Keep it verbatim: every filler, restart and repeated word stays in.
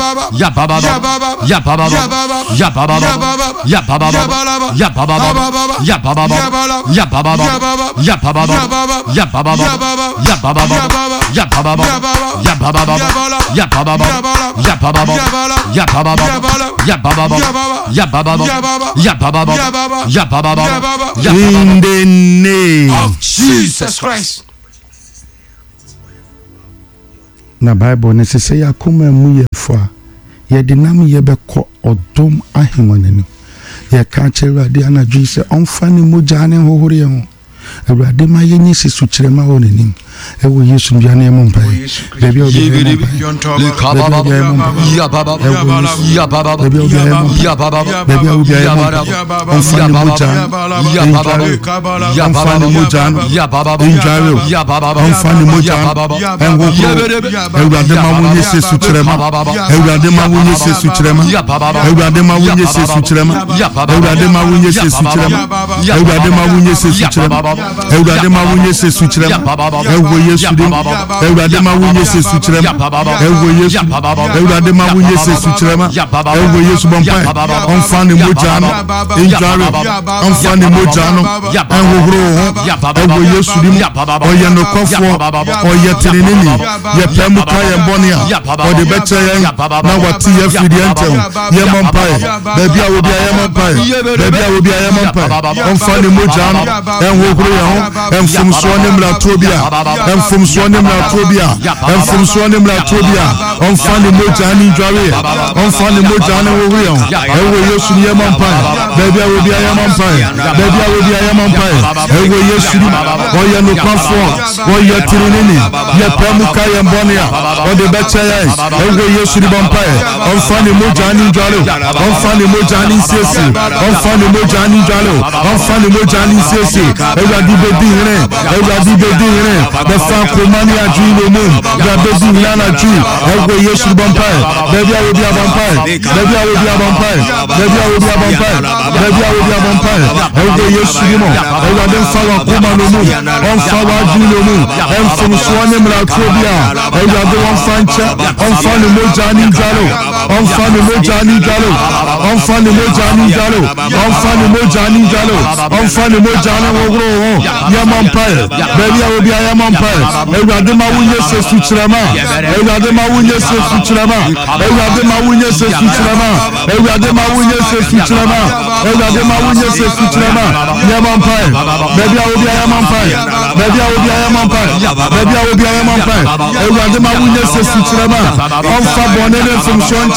Yababa, Yababa, Yababa, Yababa, Yababa, Yababa, Yababa, Yababa, Yababa, Yababa, Yababa, Yababa, Yababa, Yababa, Yababa, Yababa, Yababa, Yababa, Yababa, Yababa. In the name of Jesus Christ. Na Bible no se sɛ yɛn akoma mu yɛ fo a, yɛde nam yɛbɛkɔ ɔdom ahengua no anim. Yɛka akyerɛ Awurade anadwo yi sɛ ɔmfa ne mogya ne nhohoro yɛn ho. Awurade ma yɛnyɛ si sukyerɛma wɔ n'anim. Ɛwɔ Yesu dua no yɛmmɔ mpaeɛ. Baabi a obiara yɛmmɔ mpaeɛ. Baabi a obiara yɛmmɔ mpaeɛ. Ɛwɔ Yesu. Baabi a obiara yɛmmɔ mpaeɛ. Baabi a obiara yɛmmɔ mpaeɛ. Ɔmfa ne mogya no ndware o. Ɔmfa ne mogya no ndware o. Ɔmfa ne mogya no nhohoro o. Awurade ma wonyɛ sɛ sukyerɛma. Awurade ma wonyɛ sɛ sukyerɛma. Awurade ma wonyɛ sɛ sukyerɛma. Awurade ma wonyɛ sɛ sukyerɛma. Awurade ma wonyɛ sɛ sukyerɛma. Awurade ma wonyɛ sɛ sukyerɛma. Ɛwɔ Yesu dim. Awurade ma wonyɛ sɛ sukyerɛma. Ɛwɔ Yesu. Awurade ma wonyɛ sɛ sukyerɛma. Ɛwɔ Yesu bɔ mpae. Ɔmfa ne mogya no ndware. Ɔmfa ne mogya no ɛnhohoro wo ho. Ɛwɔ Yesu dim. Ɔyɛ nokwafoɔ. Ɔyɛ teneneni. Yɛpɛ mu ka yɛn bɔne a, ɔde bɛkyɛ yɛn na wate yɛn afiri deɛ ntɛm. Yɛmmɔ mpae. Baabi a obi a yɛmmɔ mpae. Baabi a obi a yɛmmɔ mpae. Ɔmfa ne mogya no ɛnhohoro yɛn ho. Mfomsoɔ ne mmaratoɔ bi a, mfomsoɔ ne mmaratoɔ bi a, mfomsoɔ ne mmaratoɔ bi a, ɔmfa ne mogya no ndware yɛn. Ɔmfa ne mogya no nhohoro yɛn ho. Ɛwɔ Yesu ni yɛmmɔ mpae. Baabi a obi a yɛmmɔ mpae. Baabi a obi a yɛmmɔ mpae. Ɛwɔ Yesu ni. Ɔyɛ nokwafoɔ. Ɔyɛ tirinini. Yɛpɛ mu ka yɛn bɔne a, ɔde bɛkyɛ yɛn. Ɛwɔ Yesu ni bɔ mpae. Ɔmfa ne mogya no ndware o. Ɔmfa ne mogya no nsiesie. Ɔmfa ne mogya no ndware o. Ɔmfa ne mogya no nsiesie. Awurade bɛdi hene. Awurade bɛdi hene. Bɛfa akoma ne adwene nnommum. Bra bɛdi hene anadwo yi. Ɛwɔ Yesu ni bɔ mpae. Baabi a obi abɔ mpae. Baabi a obi abɔ mpae. Baabi a obi abɔ mpae. Baabi a obi abɔ mpae. Ɛwɔ Yesu ni mu. Awurade mfa w'akoma nnommum. Ɔmfa w'adwene nnommum. Mfomsoɔ ne mmaratoɔ bi a Awurade wɔmfa nkyɛ. Ɔmfa ne mogya ne ndware o. Ɔmfa ne mogya ne ndware o. Ɔmfa ne mogya ne ndware o. Ɔmfa ne mogya ne ndware o. Ɔmfa ne mogya ne nhohoro wo ho. Yɛmmɔ mpae. Baabi a obi a yɛmmɔ mpae. Awurade ma wonyɛ sɛ sukyerɛma. Awurade ma wonyɛ sɛ sukyerɛma. Awurade ma wonyɛ sɛ sukyerɛma. Awurade ma wonyɛ sɛ sukyerɛma. Awurade ma wonyɛ sɛ sukyerɛma. Yɛmmɔ mpae. Baabi a obi a yɛmmɔ mpae. Baabi a obi a yɛmmɔ mpae. Baabi a obi a yɛmmɔ mpae. Awurade ma wonyɛ sɛ sukyerɛma. Ɔmfa bɔne ne mfomsoɔ nkyɛ.